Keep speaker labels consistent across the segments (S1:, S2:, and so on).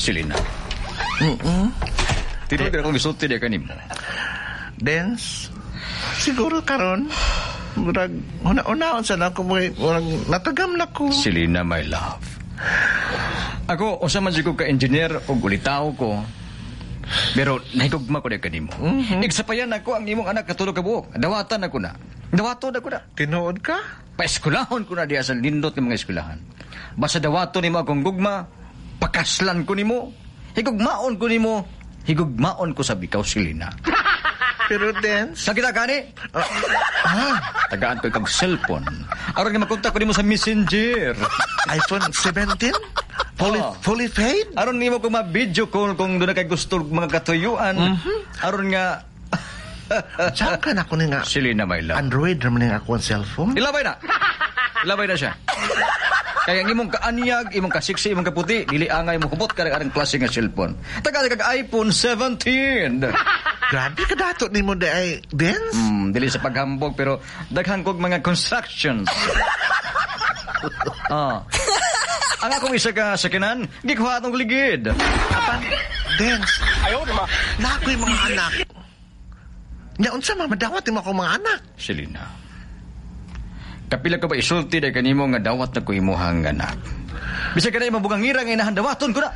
S1: Selena. Tinuod ka akong gisulti diha kanimo.
S2: Dance. Siguro karon murag una-unaon sa na ako, murag natagam na ko.
S1: Selena, my love. Ako, usa man jud ko ka engineer ug ulitaw ko. Pero nahigugma ko diha kanimo. Igsapayan ako ang imong anak katulo ka buok. Dawatan ako na. Dawaton ako na.
S2: Tinuod ka?
S1: Paeskulahon ko na diha sa lindot ng mga eskwelahan. Basta dawaton nimo akong gugma, pakaslan ko nimo, higugmaon ko nimo, higugmaon ko sa bikaw, Selena.
S2: Pero Dance,
S1: Sa kita gani? Tagaan ko ikag cellphone. Aron nga makontak ko nimo sa Messenger.
S2: iPhone 17? Fully, fully paid?
S1: Aron nimo ko ma-video call kung doon na kay gusto mga katuyuan. Aron nga
S2: Saan ka na ako ni nga?
S1: Selena, my love.
S2: Android naman nga ako ang cellphone.
S1: Ilabay na. Ilabay na siya. Kaya ang imong kaanyag, imong kasiksi, imong kaputi, dili angay mo hubot ka arang klase nga cellphone. Taga kag iPhone 17.
S2: Grabe ka dato ni mo di ay Dance.
S1: Dili sa paghambog pero daghan kog mga constructions. Ah. Ang akong isa ka sakinan, gikuha atong ligid.
S2: Apan, Dance. Ayaw ma. Na ako'y mga anak. Nya unsa ma madawat nimo akong mga anak?
S1: Selena. Kapila ko ba isulti dahil kanimo nga dawat na ko imuhang anak. Bisag ka na imong bugangira nga inahan dawaton ko na.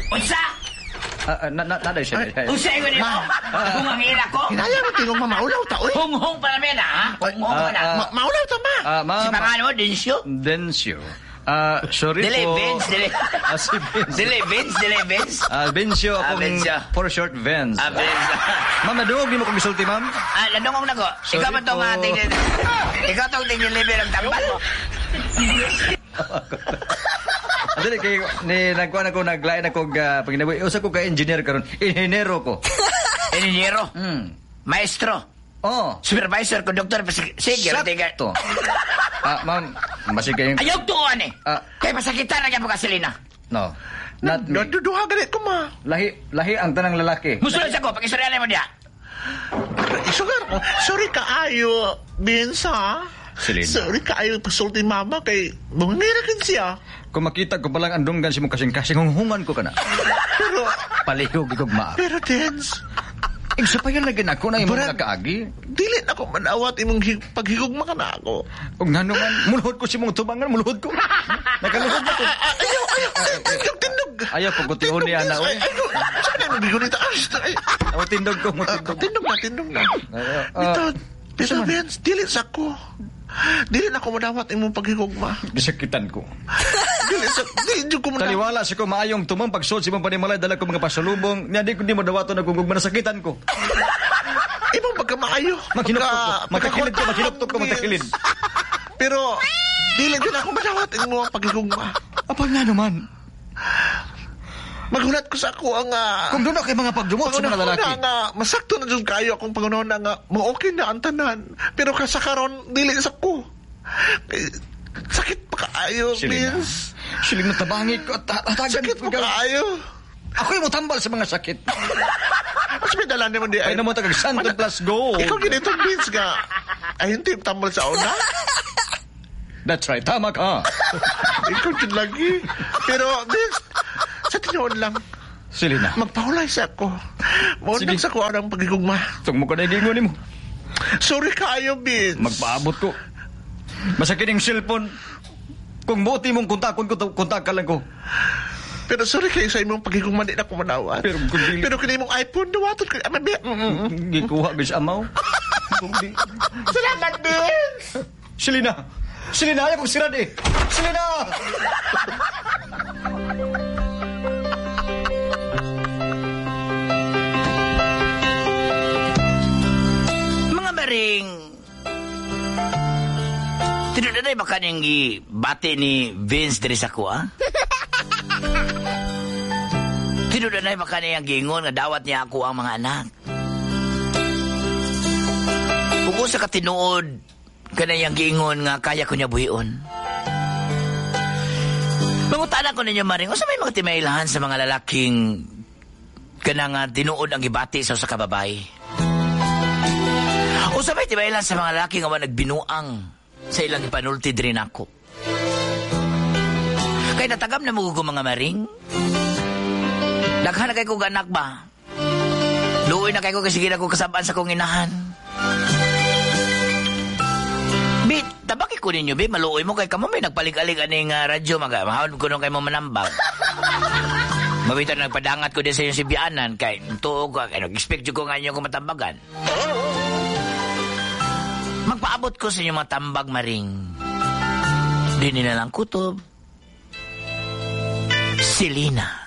S3: Unsa?
S1: Na siya.
S3: Unsa ingon nimo? Kung ang ila ko?
S2: Hinaya mo tingog ma maulaw ta oy.
S3: Hunghong pa namin ha? Hunghong pa na.
S2: Maulaw ta ma.
S1: Ma'am.
S3: Si pangalan mo, Dencio?
S1: Dencio. Sorry
S3: Dili,
S1: po.
S3: Vince, dili.
S1: Si Vince.
S3: Dili, Vince, dili, Vince.
S1: Vincio, akong
S3: Vincio.
S1: For short, Vince.
S3: Vince.
S1: Ma'am, naduog di mo kong gisulti, ma'am?
S3: Nadungog na ko.
S1: Sorry
S3: Ikaw ba itong
S1: po.
S3: ikaw tong tingin-libre ng tambal?
S1: Dili kay ni nagkuan ako naglain ako panginabuhi. Usa ko ka engineer karon. Inhinero ko.
S3: Inhinyero? Maestro?
S1: Oh.
S3: Supervisor, conductor, sige,
S1: Sakto. Ma'am, masig kayong
S3: Ayaw tuon eh. Kay pasakitan na gyapon ka, Selena.
S1: No. Not me.
S2: Naduduha gani ko ma.
S1: Lahi lahi ang tanang lalaki.
S3: Musulod sa ko, pag-istorya mo diya.
S2: Isugar ko. Sorry kaayo, Vince ha.
S1: Selena.
S2: Sorry kaayo pasulti mama kay mangira kin siya.
S1: Kung makita ko palang andunggan si mo kasing-kasing hunghungan ko kana.
S2: Pero
S1: palihog ikog ma.
S2: Pero Dance,
S1: igsapayan lagi nako na imong
S2: Brad,
S1: mga kaagi.
S2: Dili na ako manawat imong paghigugma ka na ako.
S1: Og ngano man mulhod ko si mong tubangan, mulhod ko. Nakaluhod na ko.
S2: Ayaw, ayaw, ayaw, tindog.
S1: Ayaw pagkutihon niya na oy.
S2: Ay, saan na imong bigunita? Ay,
S1: Aw tindog ko, mo tindog.
S2: Tindog na, tindog na. Bitaw, bitaw, Vince, dili sa ko. Dili na ako manawat imong paghigugma.
S1: Gisakitan ko.
S2: Dili sa, dili jud ko manawat.
S1: Taliwala sa ko maayong tumong pagsuot sa imong panimalay dala ko mga pasalubong. Nya di ko di mo dawaton akong gugma nasakitan ko.
S2: Imong pagkamaayo.
S1: Maghinuktok ko, magkakilid ko, maghinuktok ko, magkakilid.
S2: Pero dili jud ako manawat imong paghigugma.
S1: Apag nga naman.
S2: Maghulat ko sa ako ang
S1: kung doon kay mga pagdumot sa mga lalaki.
S2: Nga, masakto na jud kayo akong pangunahon na nga mo okay na ang tanan. Pero ka sa karon dili sa ko. Sakit pa kaayo, Vince.
S1: Silina tabangi ko at hatagan.
S2: Sakit pa kaayo.
S1: Ako yung mutambal sa mga sakit.
S2: Mas may dala naman di
S1: ay. Ay naman tagag Santo plus gold.
S2: Ikaw ginitong Vince nga. Ay hindi tambal sa una.
S1: That's right, tama ka.
S2: Ikaw jud lagi. Pero Vince, sa tinuod lang.
S1: Selena.
S2: Magpahulay sa ako. Maundang sa ko ang pagigugma.
S1: Tungmo ka na igingon nimo.
S2: Sorry kaayo, Vince.
S1: Magpaabot ko. Masakit ang cellphone. Kung buti mong kontakon ko, kontak ka lang ko.
S2: Pero sorry kayo sa imong pagigugma, di na ko manawat.
S1: Pero kung dili...
S2: Pero kini imong iPhone, dawaton ko.
S1: Gikuha, bis amaw.
S2: Salamat, Vince!
S1: Selena! Selena, ayaw kong sirad eh! Selena!
S3: Mga maring, tinudanay ba kaning gibati ni Vince diri sa kuha? Tinudanay ba kaning giingon nga dawat niya ako ang mga anak? Kung sa katinuod, kanayang giingon nga kaya ko niya buhion. Mangutana ko ninyo maring, unsa may mga timaylahan sa mga lalaking kanang tinuod ang gibati sa usa ka babae? Unsa may timaylahan sa mga lalaki nga wa nagbinuang sa ilang ipanulti diri nako? Kay natagam na mo ko mga maring. Daghan na kay kong anak ba? Luoy na kay ko kasi sige na ko kasabaan sa kong inahan. Bi, tabaki ko ninyo, bi, maluoy mo kay kamo may nagpalig-alig aning radyo, maga, mahawon ko nung kay mo manambag. Mabita na nagpadangat ko din sa iyong sibianan, kay tuo ko, kay nag-expect ko nga inyo kong matambagan. Magpaabot ko sa inyong mga tambag, maring. Di nila lang kutob. Selena.